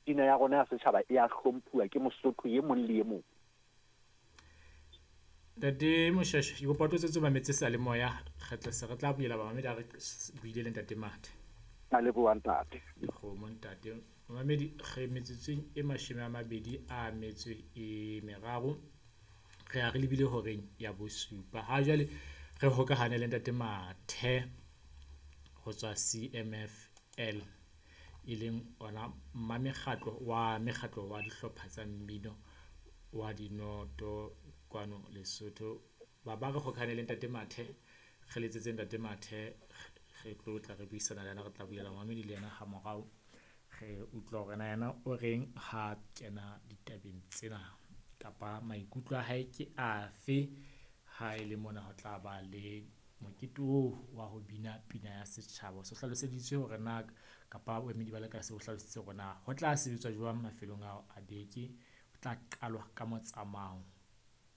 Pina ya rona ya setjhaba e a hlomphuwa ke Mosotho e mong le e mong. Ntate Moshweshwe, ke kopa o tlo mametse seyalemoya. Re tla se re tla bulela bamamedi ha re buile le Ntate Mathe. Ka leboha ntate. Dikgomo ntate. Mamedi re metsotsong e 23, re ya re lebile horeng ya bosupa. Ha jwale re hokahane le Ntate Mathe ho tswa CMFL, e leng ona mma mekgatlo wa mekgatlo wa dihlopha tsa mmino wa dinoto kwano Lesotho. Ba ba re hokahane le Ntate Mathe, re letsetse Ntate Mathe, re tlo tla re buisana le yena, re tla bulela mamedi le yena ha morao. Re utlwa hore na yena o reng ha kena ditabeng tsena kapa maikutlo a hae ke afe ha e le mona ho tla ba le mokete oo wa ho bina pina ya setjhaba. So hlaloseditswe hore na kapa boemedi ba lekala se o hlalositse hore na ho tla sebetswa jwang mafelong ao a beke. Ho tla qalwa ka motsamao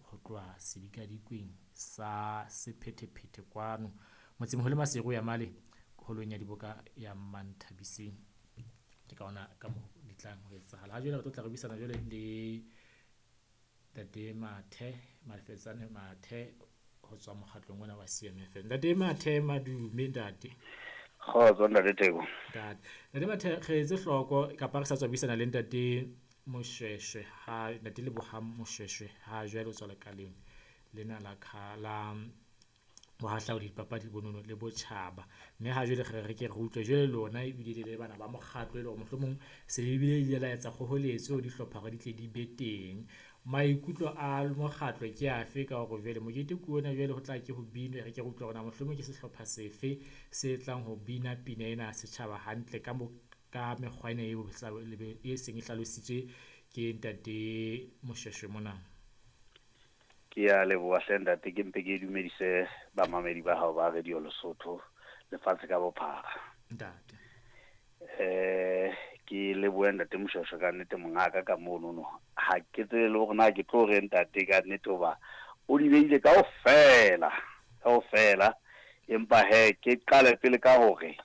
ho tloha sedikadikweng sa sephethephethe kwano motsemoholo Maseru ya male holong ya diboka ya Manthabiseng. Ke ka ona ka moo di tlang ho etsahala. Ha jwale re tlo tla re buisana jwale le Ntate Mathe, Malefetsane Mathe ho tswa mokgatlong ona wa CMFL. Ntate Mathe, madume ntate. Kgotso ntate Theko. Ntate. Ntate Mathe, re etse hloko kapa re sa tswa buisana le Ntate Moshweshwe ha Ntate Lebohang Moshweshwe ha jwale o tswa lekaleng lena la la bohahlaudi, dipapadi, bonono le botjhaba. Mme ha jwale re re ke re utlwe jwale lona ebile le le bana ba mokgatlo e le hore mohlomong se ebile ile la etsa kgoholetso ho dihlopha hore di tle di be teng. Maikutlo a mokgatlo ke afe ka hore jwale mokete ke ona jwale ho tla ke ho binwe, re ke re utlwe hore na mohlomong ke sehlopha sefe se tlang ho bina pina ena ya setjhaba hantle ka mo ka mekgwa ena eo e seng e hlalositswe ke Ntate Moshweshwe mona. Ke a leboha hle ntate, ke mpe ke dumedise bamamedi ba hao ba Radio Lesotho lefatshe ka bophara. Ntate. Ke lebohe ntate Moshweshwe ka nnete mongaka ka mono no. Ha ke tsebe le hore na ke tlo re ntate ka nnete hoba o di beile kaofela, kaofela. Empa he ke qale pele ka hore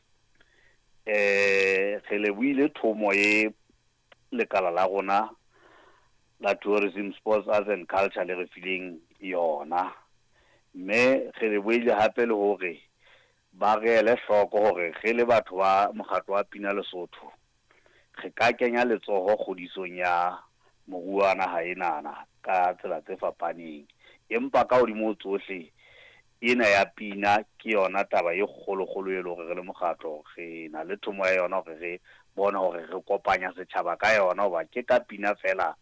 re lebohile thomo e lekala la rona la Tourism, Sports, Arts and Culture le re fileng yona. Mme re lebohile hape le hore ba re ele hloko hore re le batho ba mokgatlo wa Pina Lesotho re ka kenya letsoho kgodisong ya moruo wa naha enana ka tsela tse fapaneng. Empa ka hodimo ho tsohle ena ya pina ke yona taba e kgolokgolo e le hore re le mokgatlo re na le thomo ya yona hore re bone hore re kopanya setjhaba ka yona, hoba ke ka pina fela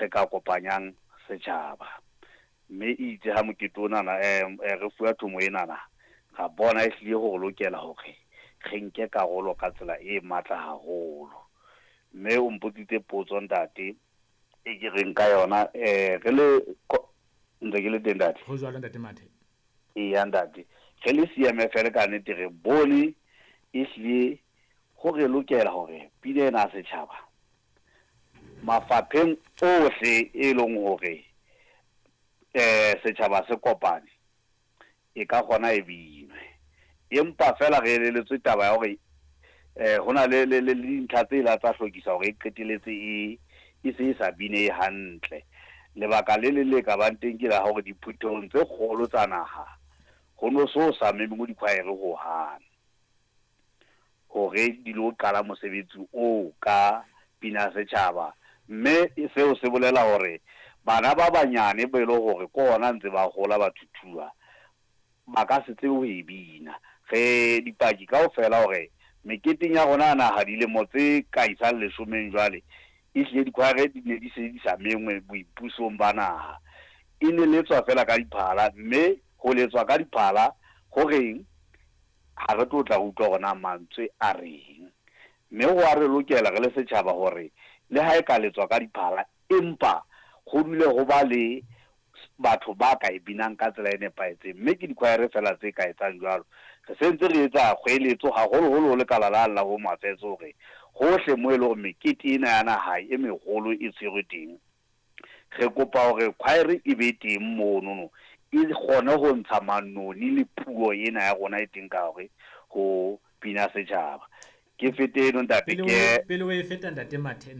re ka kopanyang setjhaba. Mme itse ha mokete onana re fuwa thomo enana, ra bona e hlile hore lokela hore re nke karolo ka tsela e matla haholo. Mme o mpotsitse potso ntate e ke reng ka yona, re le ntse ke le teng ntate. Ho jwalo Ntate Mathe. Eya ntate, re le CMFL ka nnete re bone e hlile ho re lokela hore pina ena ya setjhaba mafapheng ohle e leng hore setjhaba se kopane e ka kgona e binwe. Empa fela re eleletswe taba ya hore hona le le le dintlha tse la tsa hlokisa hore e qetelletse e e se e sa bine hantle. Lebaka le le le ka bang teng ke la hore diphuthehong tse kgolo tsa naha ho no so sa memengwe dikhwaere hohang hore di lo qala mosebetsi oo ka pina ya setjhaba. Mme seo se bolela hore bana ba banyane be le hore ke hona ntse ba hola ba thuthuha ba ka se tsebe ho e bina. Re dipaki kaofela hore meketeng ya rona ya naha dilemo tse ka isang 10 jwale e hlile dikhwaere di ne di se di sa mengwe boipusong ba naha. E ne letswa fela ka diphala, mme ho letswa ka diphala ho reng ha re tlo tla utlwa hore na mantswe a reng. Mme ho a re lokela re le setjhaba hore le ha e ka letswa ka diphala, empa ho dule ho ba le batho ba ka e binang ka tsela e nepahetseng. Mme ke dikhwaere fela tse ka etsang jwalo. Re sentse re etsa kgoeletso haholoholo ho lekala la la Home Affairs hore hohle moo e leng hore mekete ena ya naha e meholo e tshwerwe teng, re kopa hore khwaere e be teng monono, e kgone ho ntsha manoni le puo ena ya rona e teng ka hore ho pina setjhaba. Ke fete eno ntate, ke pele o e feta Ntate Mathe.